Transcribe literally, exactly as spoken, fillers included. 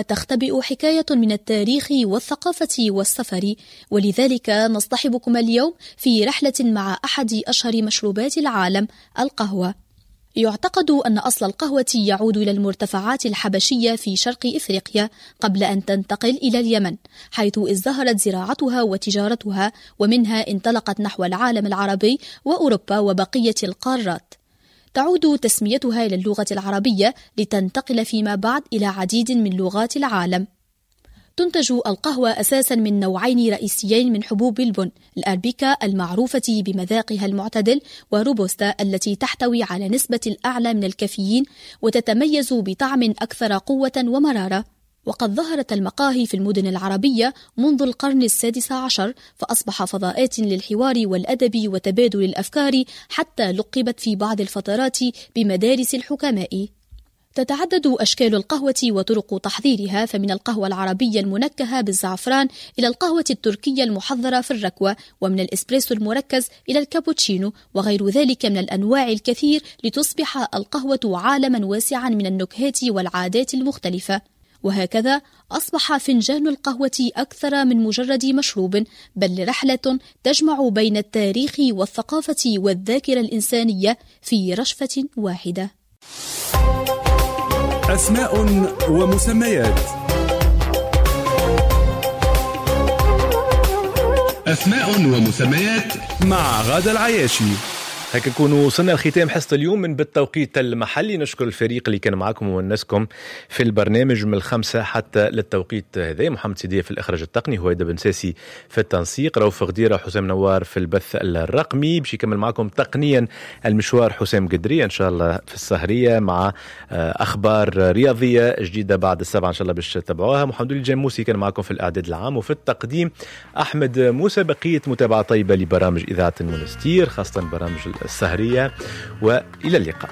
تختبئ حكاية من التاريخ والثقافة والسفر، ولذلك نصطحبكم اليوم في رحلة مع أحد أشهر مشروبات العالم، القهوة. يعتقد أن أصل القهوة يعود إلى المرتفعات الحبشية في شرق إفريقيا قبل أن تنتقل إلى اليمن، حيث ازدهرت زراعتها وتجارتها، ومنها انطلقت نحو العالم العربي وأوروبا وبقية القارات. تعود تسميتها إلى اللغة العربية لتنتقل فيما بعد إلى عديد من لغات العالم. تنتج القهوة أساسا من نوعين رئيسيين من حبوب البن، الأربيكا المعروفة بمذاقها المعتدل، وروبوستا التي تحتوي على نسبة الأعلى من الكافيين وتتميز بطعم أكثر قوة ومرارة. وقد ظهرت المقاهي في المدن العربية منذ القرن السادس عشر، فأصبح فضاءات للحوار والأدب وتبادل الأفكار، حتى لقبت في بعض الفترات بمدارس الحكماء. تتعدد أشكال القهوة وطرق تحضيرها، فمن القهوة العربية المنكهة بالزعفران إلى القهوة التركية المحضرة في الركوة، ومن الإسبريسو المركز إلى الكابوتشينو وغير ذلك من الأنواع الكثير، لتصبح القهوة عالما واسعا من النكهات والعادات المختلفة. وهكذا أصبح فنجان القهوة أكثر من مجرد مشروب، بل رحلة تجمع بين التاريخ والثقافة والذاكرة الإنسانية في رشفة واحدة. أسماء ومسميات. أسماء ومسميات مع غادة العياشي. هكا نكونوا وصلنا لختام حصة اليوم من بالتوقيت المحلي. نشكر الفريق اللي كان معكم وونسكم في البرنامج من الخمسة حتى للتوقيت هذا، محمد سيدية في الإخراج التقني، هويدا بن ساسي في التنسيق، رؤوف غديرة حسام نوار في البث الرقمي. باش يكمل معكم تقنيا المشوار حسام قدرية إن شاء الله في السهرية مع أخبار رياضية جديدة بعد السبعة إن شاء الله باش تتابعوها. محمد الجاموسي كان معكم في الإعداد العام وفي التقديم أحمد موسى. بقية متابعة طيبة لبرامج إذاعة المونستير، خاصة برامج السهرية، وإلى اللقاء.